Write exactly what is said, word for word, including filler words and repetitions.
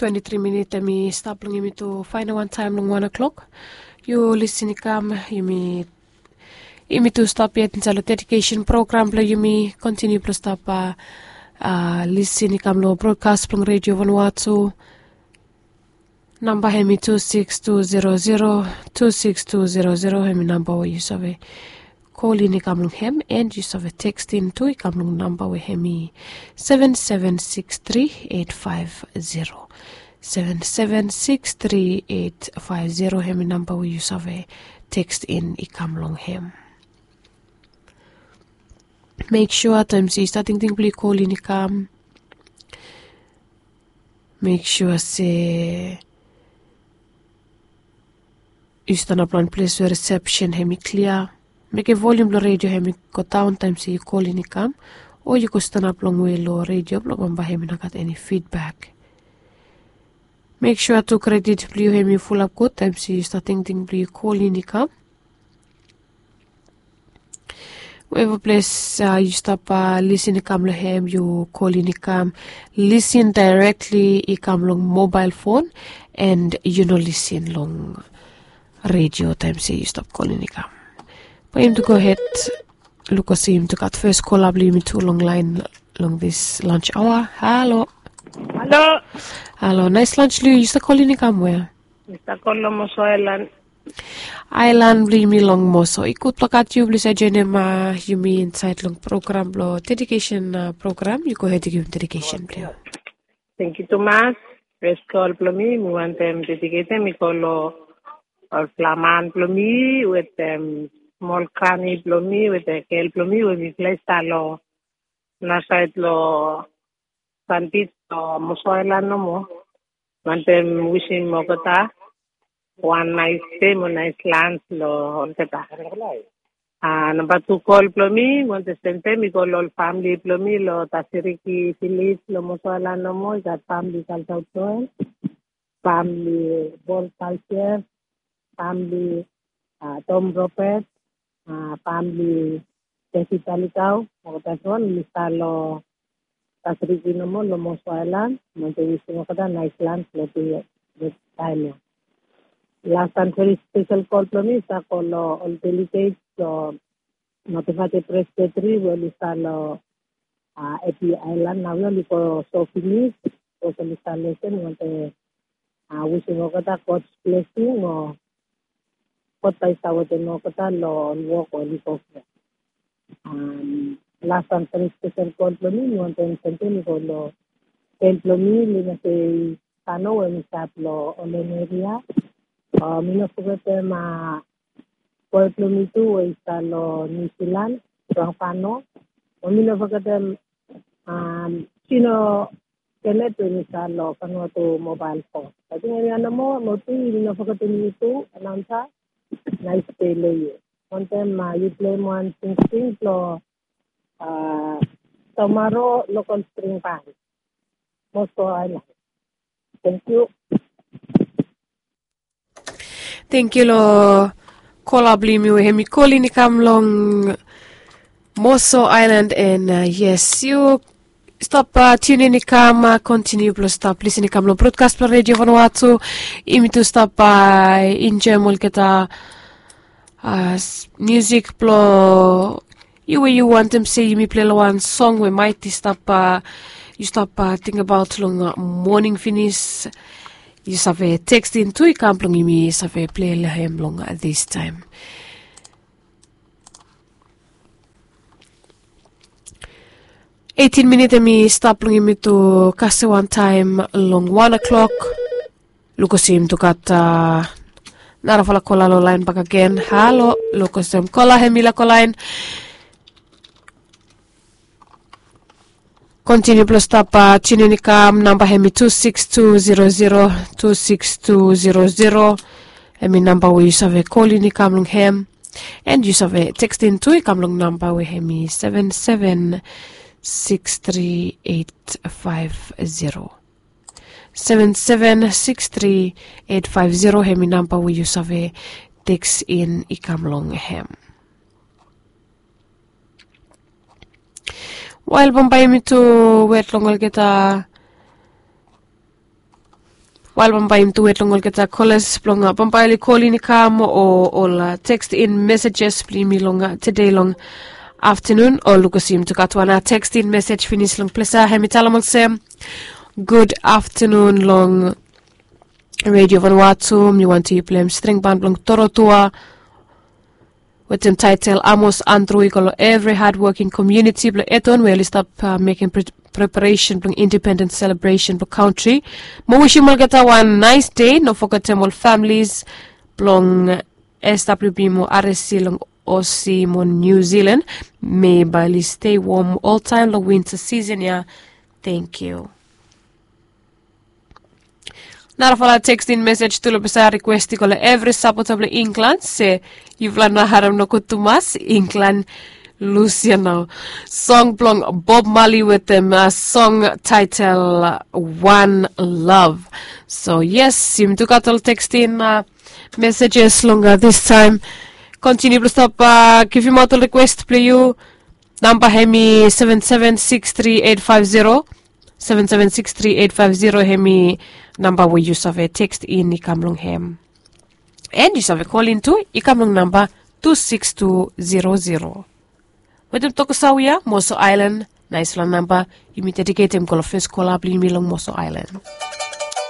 Twenti tri minit em i stap long yumi tu fainal wan taim long wan o'klok. Yu lisin i kam, yumi yumi tu stap yet insait long dedikesen program blong yumi kontiniu blong stap a lisin i kam long brotkas blong redio vanua tu. Namba hem i tu siks tu zero zero tu siks tu zero zero hem i namba we yu save kolin i kam long hem, en yu save tekstin tu i kam long namba we hem i seven seven six three eight five zero. Seven seven six three eight five zero hem i namba we yu save tekstin i kam long hem. Mek sua taim se yu stat tingting blong yu kolin i kam, mek sua se yu stanap long ples we risepsen hem i klia. Mekem volium blong redio hem i go daon taim se yu kolin i kam, o yu go stanap longwe long redio blong bambae hem i no gat eni fidbak. Mek sua tu kredit blong yu hem i fulap gud taim se yu stat tingting blong yu kolin i kam. Weva ples yu stap lisin i kam long hem, yu kolin i kam, lisin daerekli i kam long mobael fon, en yu no lisin long redio taim se yu stap kolin i kam. Bae yumi tu gohed luk olsem yumi tu gat fes kola blong yumi tu long laen long dis lans aoa. Halo. Halo. Halo, naes lans long yu. Yu stap kolin i kam we? Mi stap kol long Moso Aelan. Aelan blong yumi long Moso. I gud blong gat yu blong yu save joenem yumi insait long program blong dedikesen program. Yu gohed i givim dedikesen blong yu. Tangkiu tumas. Fes kol blong mi mi wantem dediketem i go long olfala man blong mi wetem smol grani blong mi wetem gel blong mi we mifala i stap long nasaed long Sanbij long Moso Aelan nomo. Wantem wisim olgeta wan naes dei mo naes lans long olgeta. Namba tu kol blong mi wantem sendem i go long ol famili blong mi long Tasiriki vilej long Moso Aelan nomo. I gat famili Kalsau Joel, famili Bol Kalsier, famili Tom Robert, famili David Talikau. Olgeta tu ol i stap long Tasiriki nomo long Moso Aelan. Wantem wisim olgeta naes lans long taem ya. Las wan veri spesel kol blong mi i stap go long ol deliget blong Matabata Presbeteri we oli stap long Epi Aelan nao we oli go so finis. Bikos oli stap lesen wantem wisim olgeta Gods blesing o God bae i stap wetem olgeta long ol wok we oli go. Las wan veri spesel kol blong mi mi wantem sendem i go long gel blong mi, Linase Kano we mi stap long Olen eria. Mi no fogetem boe blong mi tu we i stap long Niu Silan, Tuang Fano. Mo mi no fogetem Sino Kenet we mi stap long Vanuatu Mobael Fos. Ating hemia nomo. Mo tu yumi no fogetem yu tu, anaonsa. Naes dei long yu. Wantem yu pleim wan singsing blong Tomaro Lokol Spring Ban, Moso Aelan. Tangkiu. Tangkiu long kola blong yumi we hemi kolin i kam long Moso Aelan. En yes, yu stap tiunin i kam kontiniu blong stap lisin i kam long brodkas blong redio Vanuatu. Yumi tu stap enjoem olgeta miusik blong yu we yu wantem se yumi pilei long wan song we maet i stap yu stap tingbaot long moning finis. Yu save tekstin tu i kam blong yumi save pilei long hem long distaem. Eitin minit hemi stap blong yumi tu kasem wantaem long wan o'klok. Luk olsem tu gat narafala kola long laen bakagen. Halo, luk olsem kola hemi laek go laen. Kontiniu blong stap tiunin i kam, namba hemi tu siks tu zero zero, tu siks tu zero zero. Hemi namba we yu save kolin i kam long hem. En yu save tekstin tu i kam long namba we hemi seven seven six three eight five zero. Seven seven six three eight five zero hemi namba we yu save tekstin i kam long hem. Wael bambae yumi tu wet long olgeta Bael bambae yumi tu wet long olgeta kolas blong bambae oli kolin i kam o ol tekstin mesejes blong yumi long tede long aftanun. O lukus yumi tu gat wan tekstin mesej finis long ples ya, hem i talem olsem, gud aftanun long redio vanwatu, mi wanti yu plem stringban blong torotua wetem taetel Amos Andru i go long evri hadwoking komiuniti blong Eton we oli stap mekem preparesen blong indipendens selebresen blong kantri. Mo wisim olgeta wan naes dei, no fogetem ol familis blong SWB mo RSC long Osi mo Niu Zilan. Mei bae oli stei wom oltaem long winta sisen ya. Tangkiu. Narafala tekstin mesej tu long ples ya, rikwes i go long evri sapota blong Inglan se yufala no harem nogut tumas, Inglan lus ya nao. Song blong Bob Marley wetem song taetel One Love. So yes, yumi tu gat ol tekstin mesejes long distaem. Kontiniu blong stap givimaot ol rikwes blong yu. Namba hem i seven seven six three eight five zero. Seven seven six three eight five zero hem i namba we yu save tekstin i kam long hem. An yu save kolin tu, i kam long namba tu six tu zero zero. Wetem tok sawe ya, Moso Aelan, naesfala namba yumi dediketem go long fes kola blong yumi long Moso Aelan.